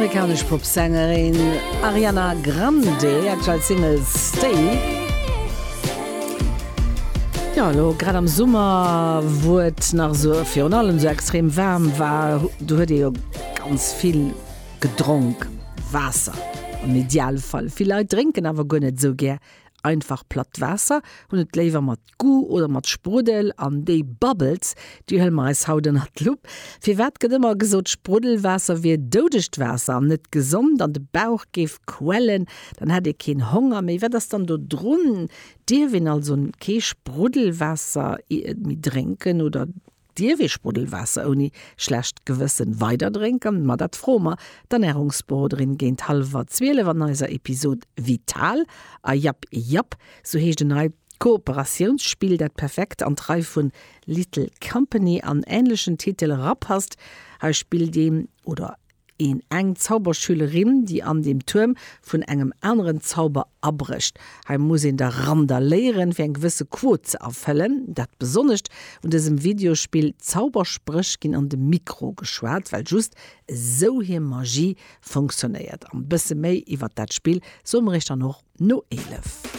D'amerikanesch Popsängerin Ariana Grande, aktuell Single Stay. Jo, elo grad am Summer, wou et nach esou virun allem esou extrem waarm war, do huet ee jo ganz vill gedronk, Waasser am Idealfall. Vill Leit drénken awer guer net esou gär einfach platt Waasser, hunn et léiwer mat Goût oder mat Spruddel an déi Bubbles, déi huele mer eis haut ënnert d'Lupp. Firwat gëtt ëmmer gesot, Spruddelwaasser wier doudegt Waasser an net gesond an de Bauch géif quellen, dann hätt ee keen Honger méi. Wat ass dann do drun? Dierf een also kee Spruddelwaasser méi drénken oder dierf ee Spruddelwaasser ouni schlecht Gewëssen weider drénken? Ma dat froe mer d'Ernärungsberoderin géint hallwer 12 an eiser Episod Vital. A Japp Japp, sou heescht en neit Kooperatiounsspill, dat perfekt an d'Rei vun Little Company an änlechen Titel erapasst. Hei spillt een oder een eng Zauberschülerin, déi an dem Tuerm vun engem aneren Zauber abrécht. Hei muss een da randaléieren, fir eng gewësse Quot ze erfëllen. Dat Besonnescht un dësem Videospill, Zauberspréch ginn an de Mikro geschwat, well just esou hir Magie funktionéiert. An bësse méi iwwert dat Spill soe mer iech dann och no 11.